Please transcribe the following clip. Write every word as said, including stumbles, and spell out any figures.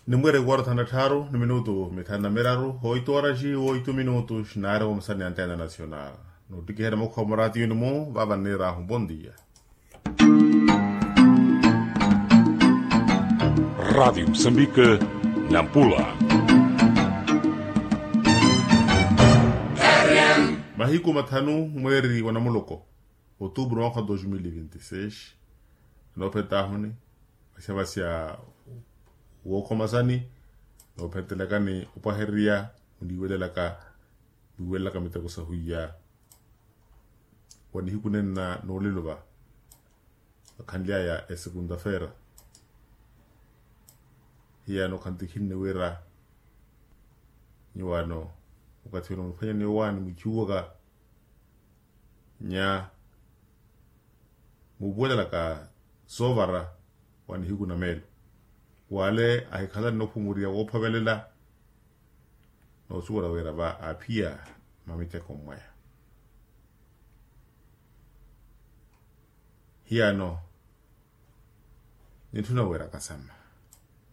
Nimwire kuwara thana tthaaru ni minutu mithanu na miraru oitu oraxi oitu minutu xinaari omusani ya antena nacional. Nuttikiherya mukhuwa muraatiyuni-mu vaava nniiraahu bondia. Raadio musambike, nampula. Mahiku mathanu mweeri wa namuloko, otuupuru mwaakha wa dos mil e vinti seis. Anoophetaahuni vasya vasya wookhomasani noophentelekani opwahererya oniiwelelaka, niiwelelaka miteko sahwiya wa nihiku nenna noolelo va vakhanly'aya esekunta feera. Hiyano khantikhinne wira nyuwaano wakathi wene oniphwanya ni owaani mwichuwaka nya muupuwelelaka soovara wa nihiku na meelo. Wale ahikhala ni ophumuriya woophovelela noosuwela wira va aaphiya mamiteko mwaya. Hiyano nitthuna wira kasama